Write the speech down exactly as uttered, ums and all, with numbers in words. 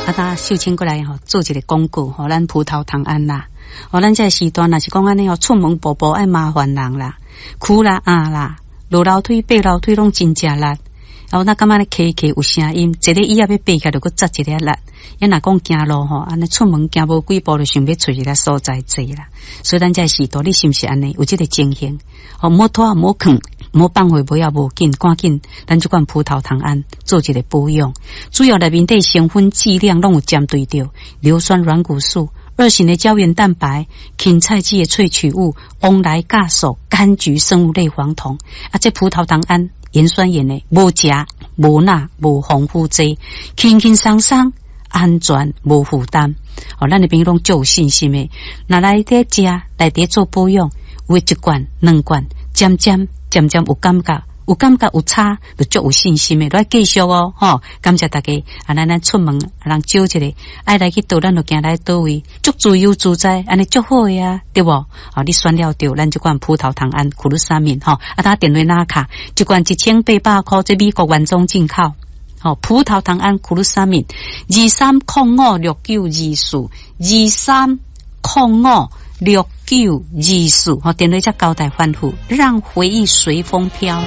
啊，搭秀清過來吼，做一個廣告吼，咱葡萄糖胺啦。哦，咱這個時段若是講按呢吼，出門步步愛麻煩人啦，跍啦壓啦，落樓梯爬樓梯攏真食力。哦，那感覺咧磕磕有聲音，一个椅仔欲爬起來就閣扎一个力。啊若講行路吼，按呢出門行無幾步就想欲揣一个所在坐啦。所以咱這個時代，你是毋是按呢？有這個情形？哦，毋好拖，毋好囥，毋好放予尾仔無緊，趕緊，咱這款葡萄糖胺做一個保養。主要內面底成分劑量攏有針對著硫酸軟骨素、二型的膠原蛋白、芹菜籽的萃取物、黃來酵素、柑橘生物類黃酮。啊，這葡萄糖胺鹽酸鹽的，無食、無鈉、無防腐劑，輕輕鬆鬆，安全無負擔。哦，咱的朋友攏足有信心的，若來佇食，來佇做保養，有一罐、兩罐，漸漸漸漸有感覺，有感覺有差，就足有信心的，來繼續哦，吼！感謝大家，啊，咱咱出門，人招一个，愛來去佗，咱就行來佗位，足自由自在，按呢足好的啊，對無？哦，你選了著，咱這款葡萄糖胺苦魯沙敏，吼，啊，打電話拿卡，一罐一千八百箍，這美國原裝進口，吼，葡萄糖胺苦魯沙敏，二三空五六九二四，二三空五六九二四，吼，電話才交代吩咐，讓回憶隨風飄。